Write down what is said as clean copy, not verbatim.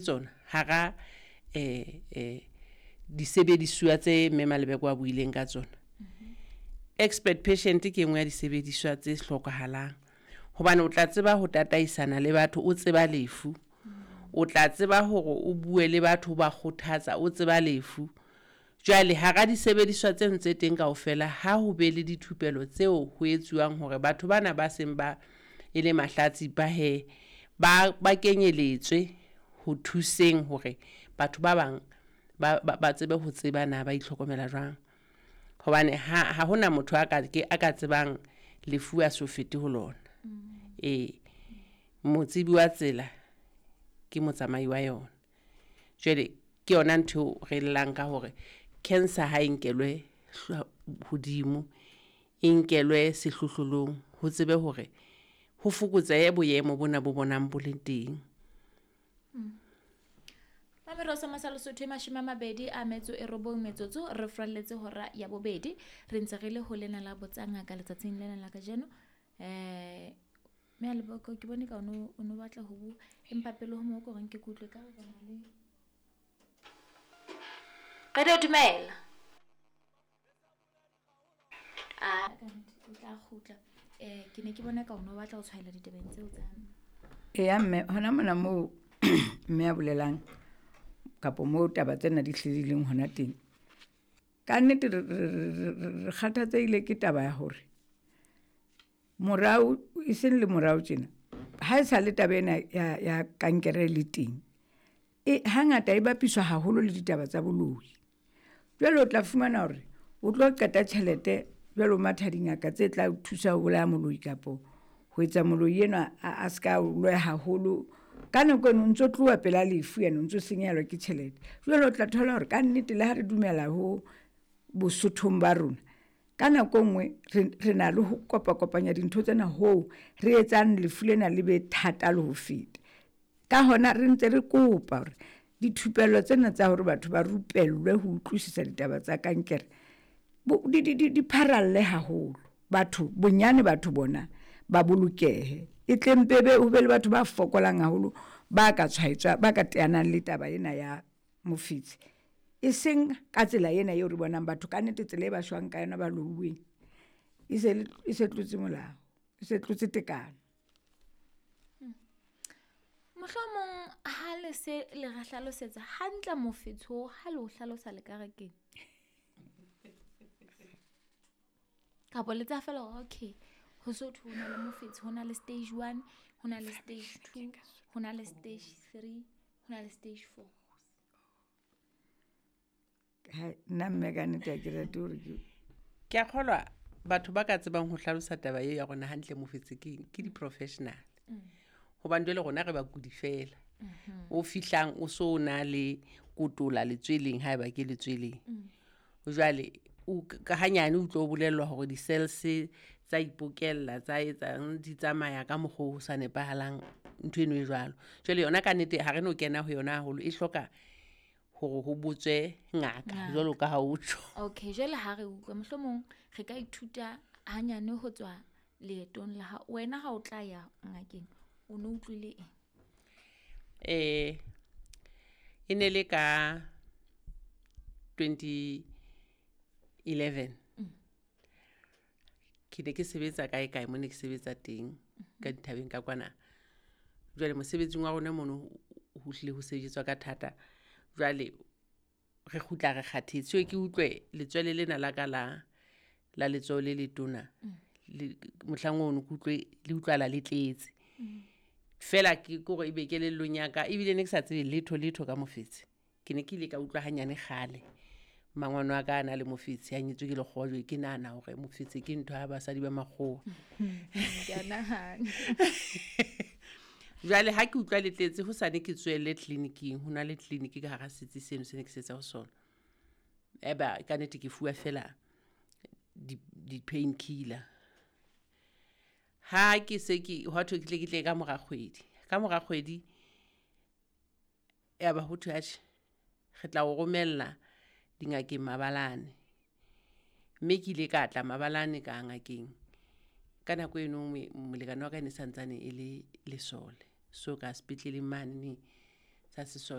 Tsona hara disebedisuwa tse Mme Malebeko a buileng ka tsona. Expert patient ke engwe ya disebediswa tse hlokahalang, hobane o tla tseba ho tataisana le batho, o tseba lefu, o tla tseba hore o bue le batho, o ba kgothatsa, o tseba lefu. Jwale hara disebediswa tseno tse teng kaofela, ha ho be le dithupelo tseo ho etsuwang hore batho bana ba seng ba e le mahlatsipa he ba kenyeletswe ho thuseng hore batho ba bang ba tsebe ho tseba na ba itlhokomela jwang. Hobane ha hona motho a ka tsebang lefu a so fete ho lona. Ee, motsebi wa tsela ke motsamai wa yona. Jwale ke yona ntho re llang ka hore cancer ha e nkelwe hodimo, e nkelwe sehlohlolong, ho tsebe hore ho fokotsehe boemo bona bo bonang bo le teng. Mamerosa Masalo Sotho 29 metsotso re furalletse hora ya bobedi, re ntse re le ho lena la Botsa Ngaka letsatsing lena la kajeno. Mme Leboko, ke bone ka o no batla ho bua, empa pele ho moo ko reng ke kutlwe ka re na le Radio. Dumela. A o tla kgutla. Ke ne ke bona ka o no batla ho tshwaela ditabeng tseo tsa Eya mme, hona mona moo mme a bolelang kapo moo taba tsena di hlileng hona teng, ka nnete re kgathatsehile ke taba ya hore morao, e seng le morao tjena, ha e sa le taba ena ya kankere le teng, e hangata e bapiswa haholo le ditaba tsa boloi. Jwale o tla fumana hore o tlo qeta tjhelete jwale o matha dingaka tse tla o thusa ho bolaya moloi kapo ho etsa moloi enwa a ska o loya haholo. Ka nako eno o ntso tloha pela lefu, ene o ntso senyehelwa ke tjhelete. Jwale o tla thola hore ka nnete le ha re dumela ho Bosothong ba rona, ka nako e nngwe re na le ho kopa-kopanya dintho tsena hoo re etsang lefu lena le be thata le ho feta. Ka hona re ntse re kopa hore dithupello tsena tsa hore batho ba rupellwe ho utlwisisa ditaba tsa kankere di pharalle haholo. Batho bonyane, batho bona ba bolokehe, e tle mpe be ho be le batho ba fokolang haholo ba ka tshwaetswa, ba ka teanang le taba ena ya mofetshe, e seng ka tsela ena eo re bonang batho ka nnete tsela e ba shwang ka yona ba louweng, e se tlotse molao, e se tlotse tekano. Mohlomong ha le se le re hlalosetsa hantle mofetshe, ha le o hlalosa le ka re keng? Kapa le tsa fela hore okay, ho so thwe ho na le mofetshe, ho na le stage 1, ho na le stage 2, ho na le stage 3, ho na le stage 4. Nna mme ka nnete ha ke rate hore ke a kgolwa batho ba ka tsebang ho hlalosa taba eo ya rona hantle mofetshe ke di-professional. Hobane jwale rona re bakudi fela. O fihlang o so na le kotola letsweleng haeba ke letsweleng. Jwale ka hanyane o tlo bolellwa hore di-cells tsa ipokella, tsa etsang di tsamaya ka mokgwa o sa nepahalang, ntho eno e jwalo. Jwale yona ka nnete ha re no kena ho yona haholo, e hloka hore ho botswe ngaka jwalo ka ha o tjho. Okay, jwale ha re utlwa mohlomong re ka ithuta hanyane ho tswa leetong la hao. Wena ha o tla ya ngakeng o no utlwile eng? E ne le ka 2011. Ke ne ke sebetsa kae kae mo ne ke sebetsa teng ka dithabeng ka kwana. Jwale mosebetsing wa rona mono ho hlile ho sebetswa ka thata. Jwale re kgutla re kgathetse, ke utlwe letswele lena la ka la letsoho le letona, mohlang ono ke utlwe le utlwala le tletse. Fela ke kore ebe kelellong ya ka, ebile ne ke sa tsebe letho letho ka mofetshe. Ke ne ke ile ka utlwa hanyane kgale mangwane wa ka a na le mofetshe, a nyetswe ke lekgowa, jwale ke nahana hore mofetshe ke ntho ya basadi ba makgowa. Ke a nahana. Jwale ha ke utlwa le tletse, hosane ke tswelle tleliniking, ho na le tleliniki ka hara setsi seno se ne ke setsa ho sona. Eba ka nnete ke fuwa fela di-pain killer. Ha ke se ke hwa thwe ke tle ke tle ka mora kgwedi. Ka mora kgwedi ya ba ho thwe atjhe, re tla o romella dingakeng mabalane. Mme ke ile ka tla mabalane ka ngakeng. Ka nako eno molekane wa ka e ne santsane e le lesole. So ka sepetleleng mane, Sa sesole.